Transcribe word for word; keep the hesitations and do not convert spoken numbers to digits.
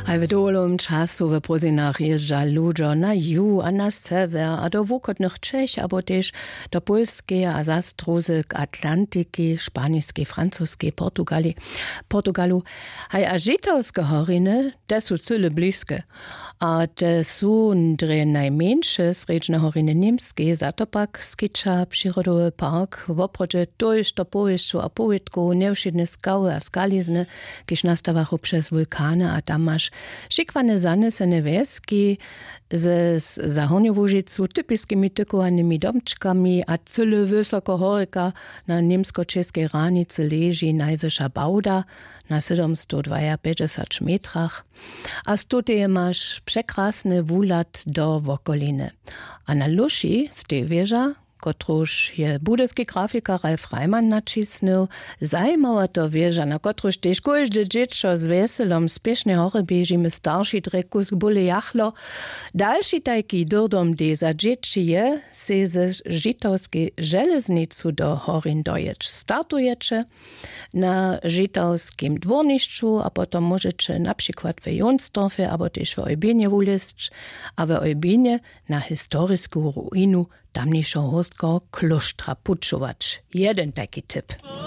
Haj w dowolowym času w prózdninach jězdźa ludźo na ju a na sewjer a do wuchodnych čech abo tež do pólskeje a zastrózy k atlantiki, španiskej, francuskej, portugali, portugalu. Haj a žitawske horiny, te su cyle bliske. A te su drje najmjeńše srjedźne horiny němskej, za to pak skića přirodowy park woprawdźe tójšto powěsćow a powědkow, njewšědne skały a skalizny, kiž nastawachu přez wulkany a tam maš šikłane zanesene wjeski ze z- za hornju łužicu typiskimi tykołanymi domčkami a cyle wysoko horjeka na němsko-čěskej hranicy leži najwyša bałda na sydomstowdwajapjećdźesać metrach. A z tuteje maš překrasny wuhlad do wokoliny. A na luši stej wěža, kotruž je budyski grafikar Ralf Reimann naćisnył, zajimawa to wěža, na kotruž tež kóžde dźěćo z wjeselom spěšnje hory běžimy, starši drje kusk bóle jachlo. Dalši tajki dyrdom dej za dźěći je, sej ze žitawskej železnicu do horin dojěć. Startujeće na žitawskim dwórnišću a potom móžeće na přikład w jonsdorfje abo tež w eubinje wulězć a w eubinje na historisku ruinu tamnišeho hórstkeho klóštra pućować. Jeden tajki tip.